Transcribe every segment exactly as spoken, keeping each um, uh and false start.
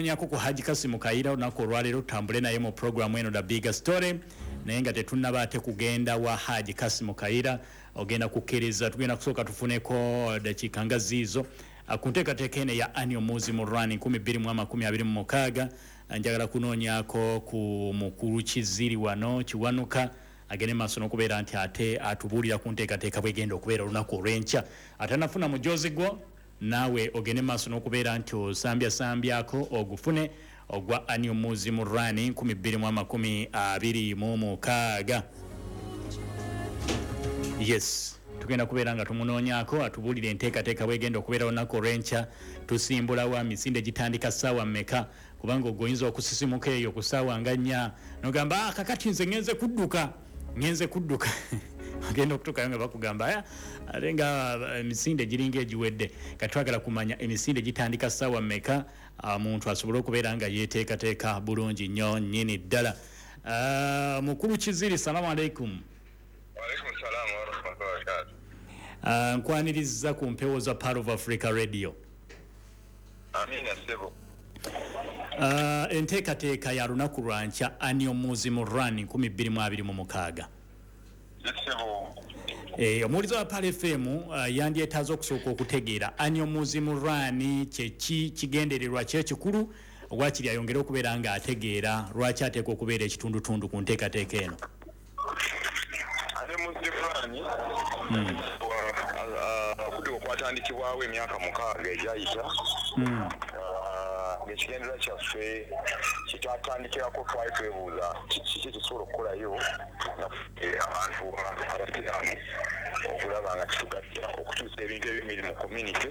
kunoonyako ku Haji Kasimu Kayira olunaku olwaleero, tutambule naye mu programu eno The Bigger Story. Naye nga tetunnaba ate kugenda wa Haji Kasimu Kayira, ogenda kukkiriza tugenda kusooka tufuneko dakiika nga ziizo ku nteekateeka eno eya Annual Muslim Run nkumi bbiri mu amakumi abiri mu mukaaga. Njagala kunoonyako ku mukulu Kiziri wano Kiwanuka, agende maaso n'okubeera nti ate atubuulira ku nteekateeka bwegenda okubeera olunaku olw'enkya. Atanafuna mujozi gwo, naawe ogende maaso n'okubeera nti osambyasambyaako ogufune ogwa Annual Muslim Run nkumi bbiri mu amakumi abiri mu mukaaga. Yes, tugenda kubeera nga tumunoonyaako atubuulire enteekateeka bwegenda okubeera olunaku olw'enkya. Tusimbulawa? Misinde gitandika ssaawa mmeka? Kubanga ogwo oyinza okusisimuka eyo ku ssaawa nga nnya nogamba, "Ah, kakati nze ngenze kudduka, ngenze kudduka." Agenda okutuukayo nga bakugamba, "Aya, ate nga emisinde giringa egiwedde." Kati twagala kumanya emisinde gitandika ssaawa mmeka, omuntu asobole okubeera nga yeteekateeka bulungi nnyo nnyini ddala. Ah, mukulu Kiziri, salamu aleikum. Waalaikum salaam warahmatullahi wabarakatuh. Ah, nkwaniriza ku mpewo za Pearl of Africa Radio. Amina, ssebo. Ah, enteekateeka ya lunaku lwankya, Annual Muslim Run nkumi bbiri mu abiri mu mukaaga. Ssebo. Eh, omuwuliza wa Pearl F M uh, yandyetaaze okusooka okutegeera Annual Muslim Run kyeki, kigendererwa ki ekikulu, wakiri ayongere okubeera ng'ategeera lwaki ateekwa okubeera ekitundutundu ku nteekateeka eno. Annual Muslim Run okudduka okwatandikibwawo emyaka mukaaga egyayita, Ah, ng'ekigendererwa kyaffe kyetwatandikirako, twali twebuuza kiki ekisobola okukolayo nga ffe abantu abasiraamu okulaba nga kitugatta okukyusa ebintu ebimiri mu community.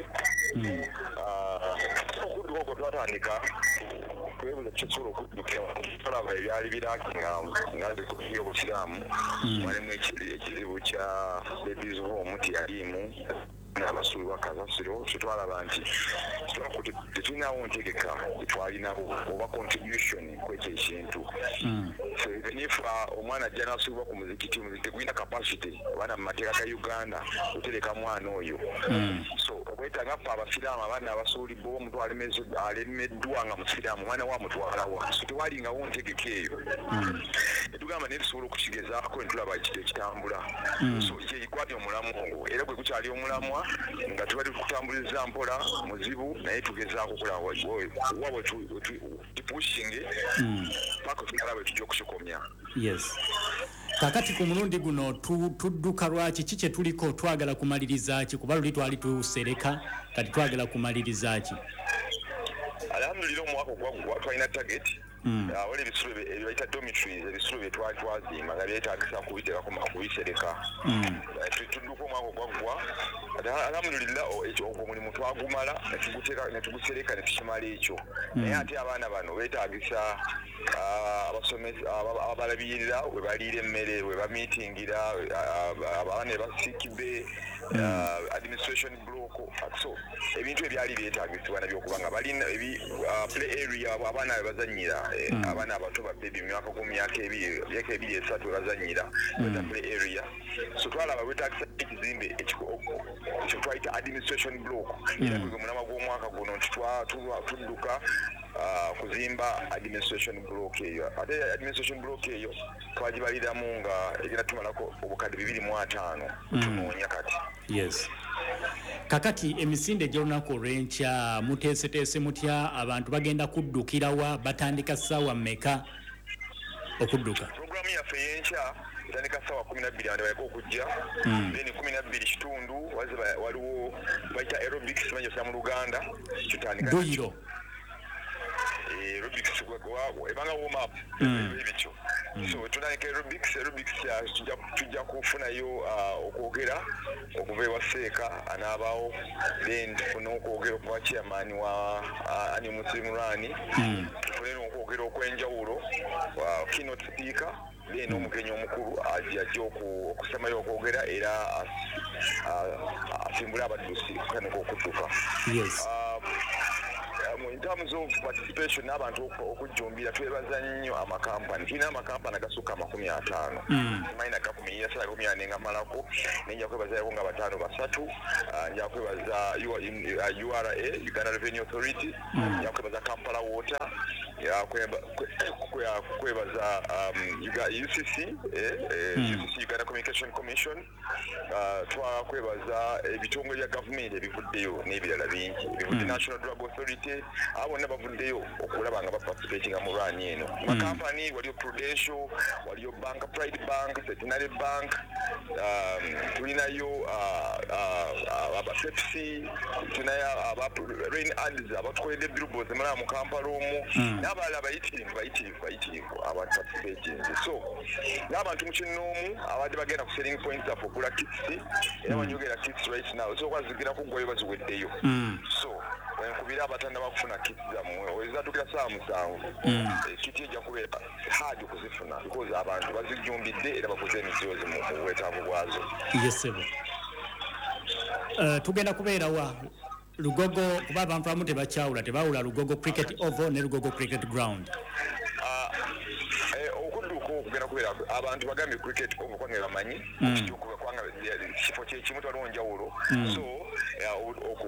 Ah, okudduka okwo twatandika twebuuza kisobola okuddukira, tulaba ebyali birakinga nga nze obusiraamu walimu ekizibu kya babies home, teyaliimu n'abasuulibwa kasasiro. Kyetwalaba nti tetulinawo ntegeka gyetwalinawo oba contribution kwekyo ekintu. So even if uh, omwana ajja n'asuulibwa ku muzikiti, omuzikiti tegulina capacity abaana mu mateeka ga Uganda kutereka mwana oyo. So obwetaaga ffe abasiraamu, abaana abasuulibwa, omuntu alemeddwa nga musiraamu, omwana we amutwalawa? So tewalingawo ntegeka eyo. Netugamba naye tusobola okukigezaako netulaba ekitambula. So gwali omulamwa ogwo, era gwe gukyali omulamwa nga tubadde tukutambuliza mpola, muzibu, naye tugezaako okulaba wa bwe tupushinge paka tunalaba bwe tujja okukikomya. Yes, kakati ku mulundi guno tudduka lwaki? Ki kye tuliko? Twagala kumaliriza ki? Kuba luli twali tusereka, kati twagala kumaliriza ki? Alhamdulillah, omwaka ogwaggwa twalina target. Wali ebisulo ebibayita dormitories, ebisulo bye twali twazimba nga byetagisa kubiteekako, kubisereka. Tudduka omwaka ogwaggwa, alhamdulillah, ogwo omulimu twagumala netugusereka netukimala ekyo. Naye ate abaana bano betagisa abalabirira, we baliira emmere, we bamiitingira, abaana basikibe, administration block. So ebintu ebyali byetagisibwa nabyo okuba nga balina play area, abaana be bazanyira, abaana abato ba baby myaka ku myaka ebiri, myaka ebiri, esatu, we bazanyira, play area. So twalaba wetagisa ekizimbe ekyo twayita administration block, era gwe mulamwa gw'omwaka guno nti tudduka kuzimba administration block eyo. Ate administration block eyo twagibaliramu nga egenda tumalako obukadde bibiri mu ataano, tunoonya kati. Yes, kakati emisinde egy'olunaku olw'enkya muteeseteese mutya? Abantu bagenda kuddukirawa? Batandika ssaawa mmeka okudduka? Programu yaffe ey'enkya etandika ssaawa kumi nabbiri, abantu baleke okujja. Then kumi nabbiri kitundu waliwo bayita aerobics, manyi mu Luganda kitandika. Dduyiro. Aerobics ebanga warm up ebityo. So tutandika aerobics. Aerobics tujja kufunayo okwogera okuva ewa seeka anaabaawo, then tufune okwogera okuva chairman wa Annual Muslim Run, tufune n'okwogera okwenjawulo, keynote speaker, then omugenyi omukulu ajja okusemayo okwogera era asimbule abaddusi okutandika okudduka. Yes. In terms of participation n'abantu okujjumbira, twebaza nnyo amakampani. Tulina amakampani agasukka amakumi ataano, simanyi nagakumiyira sala kumi ane nga malako, naye nja kwebazayako nga bataano basatu. Nja kwebaza U R A, Uganda Revenue Authority, nja kwebaza Kampala Water, kwebaza U C C, U C C Uganda Communication Commission, twakwebaza ebitongole bya gavumenti ebivuddeyo n'ebirala bingi ebivudde, National Drug Authority, abo bonna bavuddeyo okulaba nga baparticipatinga mu run eno. Makampani waliyo Prudential, waliyo Bank, Pride Bank, Centenary Bank, tulinayo aba Pepsi, tulinayo aba Rain Ads abatukoledde billboards mulaba mu Kampala omwo, n'abalala bayitirivu bayitirivu bayitirivu abaparticipatinze. So n'abantu mu kinnoomu abadde bagenda ku selling points zaffe okugula kits, era banyogera kits right now, so kwazigira kuggwayo baziweddeyo. So wenkubira abatanda bakufuna kits zammwe, oyinza ssaawa musanvu, kiti ejja kubeera hard okuzifuna because abantu bazijjumbidde era baguze emijoozi mu bwetaavu bwazo. Yes sir. Tugenda kubeera wa Lugogo, kuba abantu abamu tebakyawula, tebawula Lugogo Cricket Oval ne Lugogo Cricket Ground. Okudduka okugenda kubeera abantu bagambye Cricket Oval kubanga bamanyi kubanga kifo kyekimu twaliwo njawulo, so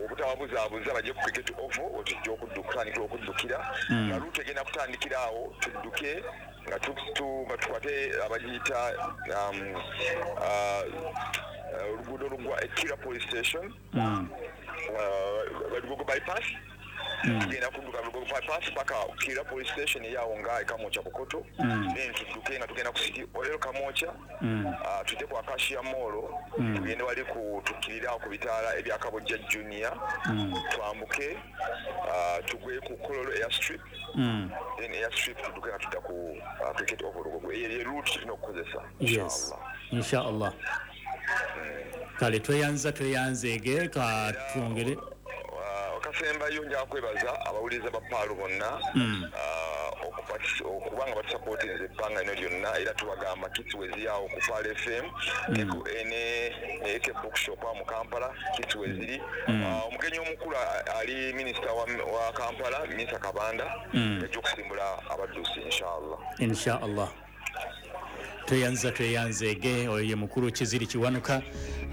obutababuzaabuza bajje ku Cricket Oval wetujja okutandikira okuddukira, nga luutu egenda kutandikira awo tudduke nga tukwate abagiyita oluguudo olugwa Ekira Police Station, Lugogo Bypass. Tugenda kudduka Lugogo Bypass paka Kira Police Station eyawo nga e Kamwokya Bukoto, then tudduke nga tugenda ku City Oil Kamwokya, tujje ku Acacia Mall, tugende wali ku tukkirira ku bitaala ebya Kabojja Junior, twambuke tugwe ku Kololo Airstrip, then Airstrip tudduke nga tudda ku Cricket Oval Lugogo. Eyo ye route tulina okukozesa. Yes, inshallah. Kale tweyanza tweyanzeege ka twongere kasembayo. Nja kwebaza abawuliriza ba Pearl bonna okubanga batusupportinze ebbanga lino lyonna, era tubagamba kits weziri awo ku Pearl F M ne A K Bookshop mu Kampala, kits weziri. Omugenyi omukulu ali minisita wa Kampala, Minisita Kabanda, ajja okusimbula abaddusi inshallah. Inshallah. Tweyanza tweyanzeege. Oyo ye mukulu Kiziri Kiwanuka,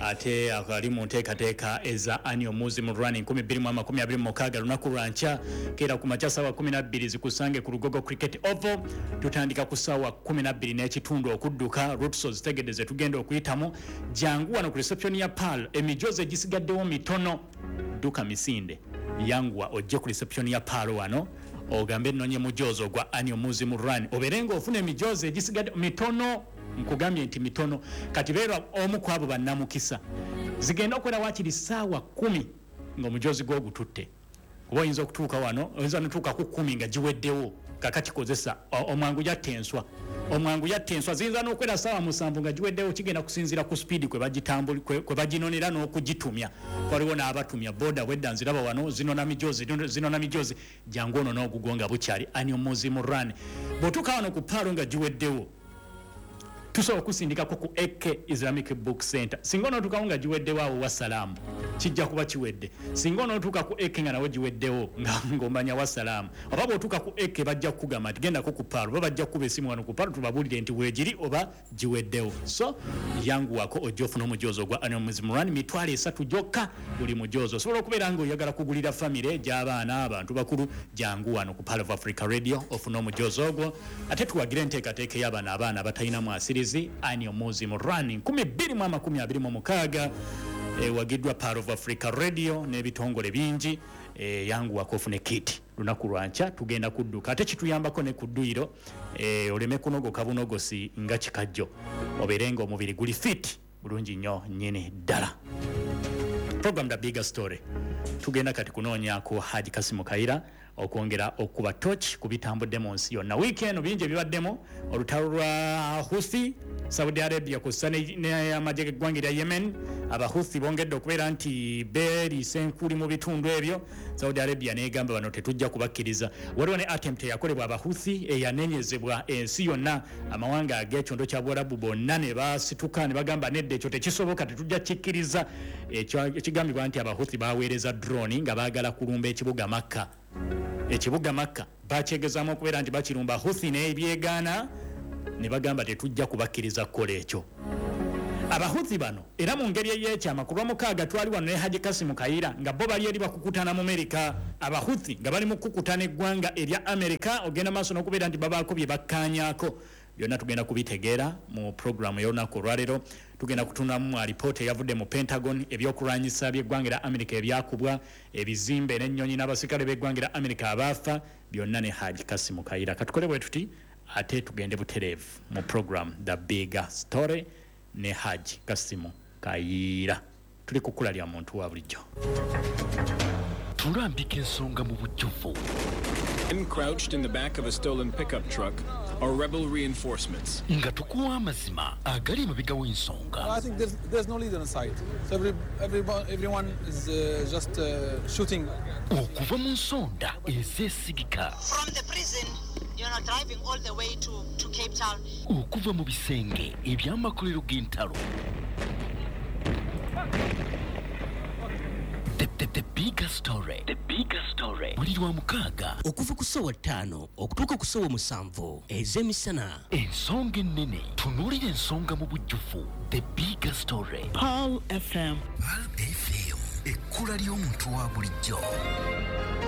ate ali mu nteekateeka eza annual Muslim Run nkumi bbiri mu amakumi abiri mu mukaaga, lunaku lwa nkya keera ku makya ssaawa kumi na bbiri zikusange ku Lugogo Cricket Oval. Tutandika ku ssaawa kumi na bbiri n'ekitundu okudduka, routes ozitegedde ze tugenda okuyitamu. Jangu wano ku reception ya Pearl, emijoozi egisigaddewo mitono, dduka misinde, yanguwa ojje ku reception ya Pearl wano ogambe nnonye mujoozi ogwa annual Muslim Run, obeere ng'ofuna emijoozi egisigadde mitono. Nkugambye nti mitono, kati beera omu ku abo bannamukisa. Zigenda okwera waakiri ssaawa kumi ng'omujoozi gw'ogututte, kuba oyinza okutuuka wano, oyinza notuuka ku kkumi nga giweddewo. Kakati kozesa omwangu yatta enswa, omwangu yatta enswa. Ziyinza n'okwera ssaawa musanvu nga giweddewo, kigenda kusinziira ku sipiidi kwe baginonera n'okugitumya. Waliwo n'abatumya boda bwedda nziraba wano zinona mijoozi, zinona mijoozi. Jangu ono n'ogugwo nga bukyali annual Muslim Run. Bw'otuuka wano ku Pearl nga giweddewo, tusobola okusindikako ku A K Islamic Book Center. Singa onootuukawo nga giweddewo awo wassalaamu, kijja kuba kiwedde. Singa onootuuka ku A K nga nawo giweddewo ng'omanya wassalaamu, oba bw'otuuka ku A K bajja kukugamba nti gendako ku Pearl, oba bajja kukuba essimu wano ku Pearl tubabuulire nti weegiri oba giweddewo. So yanguwako ojja ofuna omujoozi ogwa annual Muslim Run, mitwalo esatu gyokka buli mujoozi. Osobola okubeera ng'oyagala kugulira famire gy'abaana, abantu bakulu, jangu wano ku Pearl of Africa Radio ofune omujoozi ogwo, ate tuwagire enteekateeka ey'abaana abaana abatalina mwasirizi. Annual Muslim Run nkumi bbiri mu amakumi abiri mu mukaaga ewagiddwa Pearl of Africa Radio n'ebitongole bingi. Yanguwako ofune kit, lunaku lwa nkya tugenda kudduka, ate kituyambako ne ku dduyiro, oleme kunogoka bunogosi nga kikajjo, obeere nga omubiri guli fit bulungi nnyo nnyini ddala. Program The Bigger Story, tugenda kati kunoonyaako Haji Kasimu Kayira okwongera okuba torch ku bitambudde mu nsi yonna. Wiiki eno bingi ebibaddemu, olutalo lwa Houthi, Saudi Arabia kussa n'amagye g'eggwanga erya Yemen. Abahuthi bongedde okubeera nti beeriisa enkuli mu bitundu ebyo, Saudi Arabia n'egamba bano tetujja kubakkiriza. Waliwo ne attempt eyakolebwa Abahuthi eyanenyezebwa ensi yonna, amawanga ag'ekyondo kya Buwarabu bonna ne basituka ne bagamba nedda, ekyo tekisoboka, tetujja kikkiriza. Ekigambibwa nti Abahuthi baweereza drone nga baagala kulumba ekibuga Makka. Ekibuga Makka bakyegezaamu okubeera nti bakirumba, Huthi n'ebyegaana ne bagamba tetujja kubakkiriza kukola ekyo. Abahuthi bano era mu ngeri ey'ekyama, ku Lwamukaaga twali wano ne Haji Kasimu Kayira nga bo bali eri bakukutana mu Amerika. Abahuthi nga bali mu kukutana eggwanga erya Amerika, ogenda maaso n'okubeera nti babaako bye bakkaanyaako. Byonna tugenda kubitegeera mu puroguramu y'olunaku olwaleero. Tugenda kutunamu alipoota eyavudde mu Pentagon, ebyokulwanyisa by'eggwanga erya Amerika ebyakubwa, ebizimbe n'ennyonyi n'abaserikale b'eggwanga erya Amerika abaafa, byonna ne Haji Kasimu Kayira. Katukole bwe tuti ate tugende butereevu mu program The Big Story ne Haji Kasimu Kayira. Tuli ku kkula lya muntu wa bulijjo. Tulambika ensonga mu bujjuvu. Men crouched in the back of a stolen pickup truck are rebel reinforcements. Nga tukuwa amazima agali emabega w'ensonga. I think there's, there's no leader inside. So every, everyone, everyone is uh, just uh, shooting. Okuva mu nsonda ezeesigika. From the prison, you know, driving all the way to, to Cape Town. Okuva mu bisenge eby'amakolero g'entalo. The, the, the bigger story. The bigger story. Buli lwa mukaaga. Okuva ku ssaawa ttaano okutuuka ku ssaawa musanvu ez'emisana. Ensonga ennene. Tunuulira ensonga mu bujjuvu. The bigger story. Pearl F M. Pearl F M. Ekkula ly'omuntu wa bulijjo.